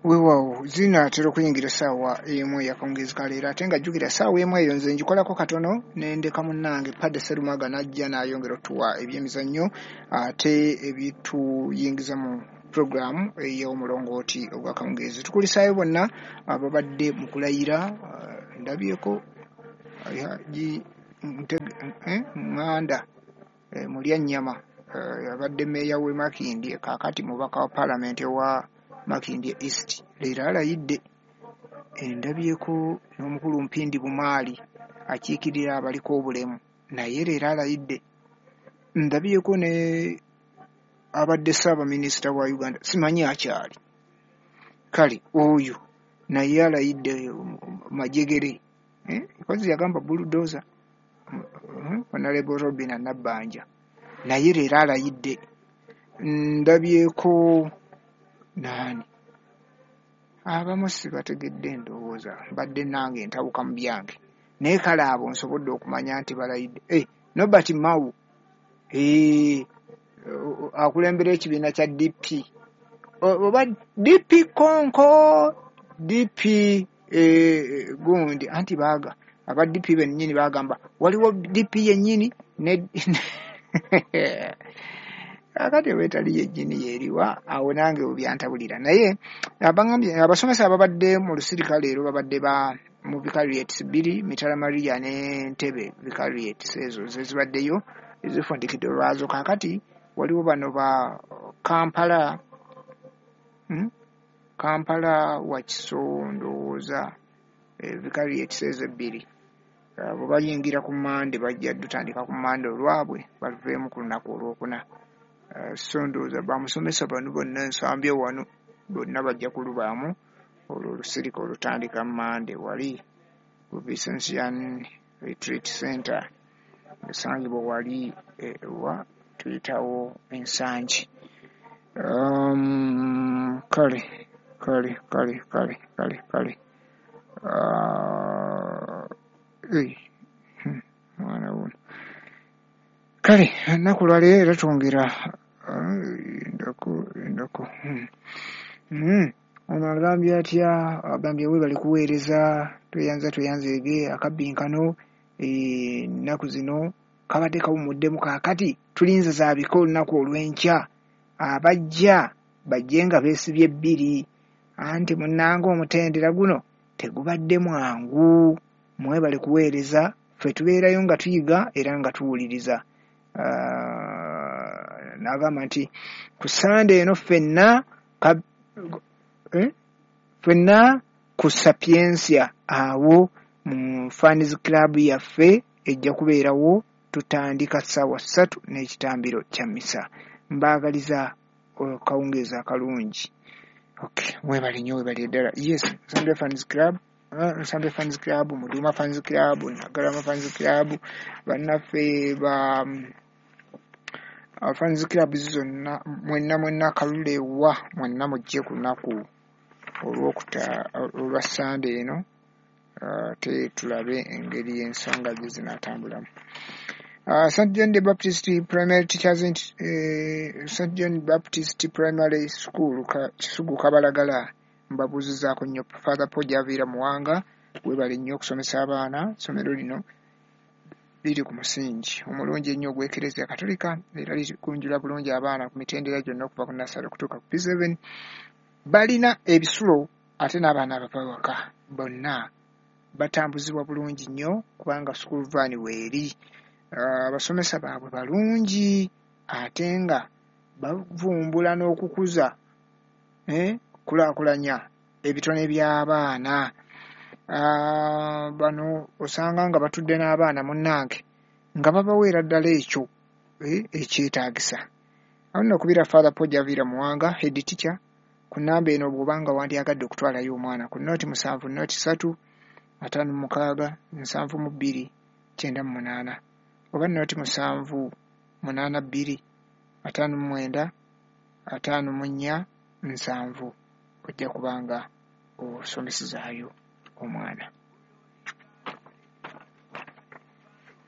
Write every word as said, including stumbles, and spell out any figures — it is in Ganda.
Weewaawo, zinaatera okuyingira essaawa emu eyakawungeezi ka leero, ate nga jjukira essaawa emu eyo nze ngikolako katono ne ndeka munnange Padde Serumaga n'ajja n'ayongera otuwa ebyemizannyo ate ebituyingiza mu puroguraamu ey'omulongooti ogw'akawungeezi. Tukulisaayo bonna ababadde mu kulayira. Ndabyeko Haji Ŋŋanda Mulyannyama, abadde mmeeya w'e Makindye, kaakati mubaka wa paalamenti owa Makindye East, leero alayidde. Ndabyeko n'omukulu Mpindi Bumaali akiikirira abaliko obulemu, naye leero alayidde. Ndabyeko ne abadde ssaabaminisita wa Uganda, simanyi akyali, kale oyo naye alayidde majegere, kozi yagamba bulldozer, Honorable Robin Nabbanja, naye leero alayidde. Ndabyeko naani abamu sibategedde, ndowooza mbadde nange ntabuka mu byange, naye kale abo nsobodde okumanya nti balayidde. Eh, Norbert Mao eh, akulembera ekibiina kya D P oba D P Konko D P eh, gundi, anti baaga aba D P bennyini bagamba waliwo D P yennyini ne akati wetali yennyini yeriwa, awo nange byantabulira. Naye abangambye abasomesa ababadde mu lusirika leero babadde ba mu vicariates bbiri, Mitala Maria ne Ntebe vicariates, ezo zezibaddeyo ezifundikidde olwazo. Kaakati waliwo bano ba Kampala, hmm? Kampala Wakiso ndowooza vicariates ezo ebbiri bwe bayingira ku Mmande bajja dutandika ku Mmande olwabwe baluveemu ku lunaku olwokuna. So ndowooza bamusomesa bano bonna ensambye wano bonna bajja kulubaamu olwo olusirika olutandika Mmande wali ku Vincentian Retreat Center esangibwa wali ewa tuyitawo Ensangi. Um, kale kale kale kale kale kale uh, hey, mwana wuno kale ennaku lwaleero era twongera endako endako hmm. Ono agambye atya? Agambye webale kuweereza, tweyanza tweyanzeege akabbinkano ennaku zino kabadde kawumuddemu, kaakati tulinze zaabika olunaku olw'enkya, abajja bajje nga beesibye bbiri, anti munnange omutendera guno tegubadde mwangu. Mwebale kuweereza, ffe tubeerayo nga tuyiga era nga tuwuliriza. Uh, n'agamba nti ku Ssande eno ffenna eh? ffenna ku Sapientia awo mu Fans Club yaffe ejja kubeerawo, tutandika ssaawa ssatu n'ekitambiro kya mmisa. Mbaagaliza akawungeezi akalungi. Okay, mwebale nnyo, webale ddala. Yes, Sunday Fans Club, uh, Sunday Fans Club, Muduma Fans Club, Nagalama Fans Club, bannaffe ba uh, Fans Club zonna mwenna mwenna kalule wa mwenna mujje ku lunaku olwokuta olwa Ssande eno, ate uh, tulabe engeri ensonga gye zinaatambulamu. Uh, Saint John the Baptist Primary Teachers uh, Saint John Baptist Primary School ka, Kisugu Kabalagala, mbabuuzizaako nnyo Father Paul Javiira Muwanga, webale nnyo okusomesa abaana. Essomero lino liri ku musingi omulungi ennyo ogw'Ekereziya Katolika era likunjula bulungi abaana ku mitendera gyonna okuva ku nursery okutuuka ku P seven. Balina ebisulo ate n'abaana abava waka bonna batambuzibwa bulungi nnyo kubanga school van weeri. Abasomesa uh, baabwe balungi ate nga bavumbula n'okukuza eh, kulaakulanya ebitone by'abaana. Uh, bano osanga nga batudde n'abaana munnange nga babaweera ddala ekyo eh, ekyetaagisa. Awo nno okubira Father Paul Javiira Muwanga, head teacher, ku nnamba eno bw'obanga wandyagadde okutwalayo omwana ku noti musanvu noti ssatu ataano mu mukaaga nsanvu mu bbiri kyenda mu munaana, oba noti musanvu munaana bbiri ataano mu mwenda ataano mu nnya nsanvu, ojja kubanga osomesezaayo omwana.